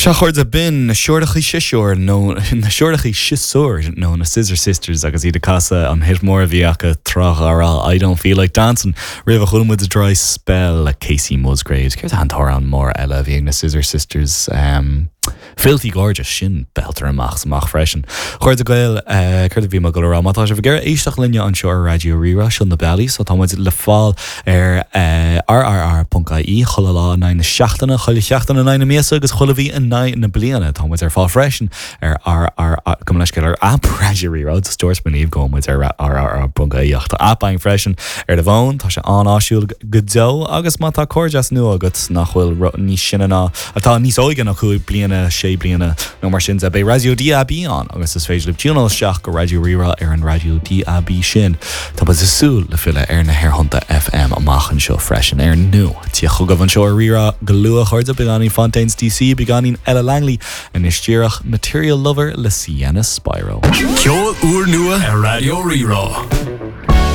Sea a chairde, b'in na Siúrachaí Siosúir nó na Siúrachaí Siosúir nó na Scissor Sisters agus iad ag casadh an hit mór a bhí acu tráth dá raibh, I Don't Feel Like Dancing. Roimhe chuala muid Dry Spell le Kacey Musgraves. Céard é an t-amhrán mór eile a bhí ag na Scissor Sisters? Filthy Gorgeous, sin belter amach is amach freisin. A chairde Gael, céard a bhí mé ag dul a rá? Má tá sibh ag iarraidh éisteacht linne anseo ar Raidió Rí-Rá, seo na bealaí, so tá muid le fáil ar rrr.ie chuile lá in aghaidh na seachtaine, chuile sheachtain in aghaidh na míosa agus chuile mhí in aghaidh na bliana. Tá muid ar fáil freisin ar RR, gabh mo leithscéal, ar aip Raidió Rí-Rá, just dúirt mé libh go bhfuil muid ar rrr.ie ach tá aip againn freisin ar do bhfón, tá sé an-áisiúil go deo agus má tá cairdeas nua agat nach bhfuil níos sine ná, atá níos óige ná 5 bliana, 6 bliana nó mar sin de, beidh Raidió DAB ann agus is féidir libh tiúnáil isteach go Raidió Rí-Rá ar an raidió DAB sin. Tá muid ag súil le filleadh ar na haerthonnta FM amach anseo freisin ar ndóigh. Tíocht chugaibh anseo ar Rí-Rá go luath, a chairde, beagáinín Fontaines DC, beagáinín Ella Langley, anois díreach Material Lover le Sienna Spiro. Ceol úrnua ar Raidió Rí-Rá.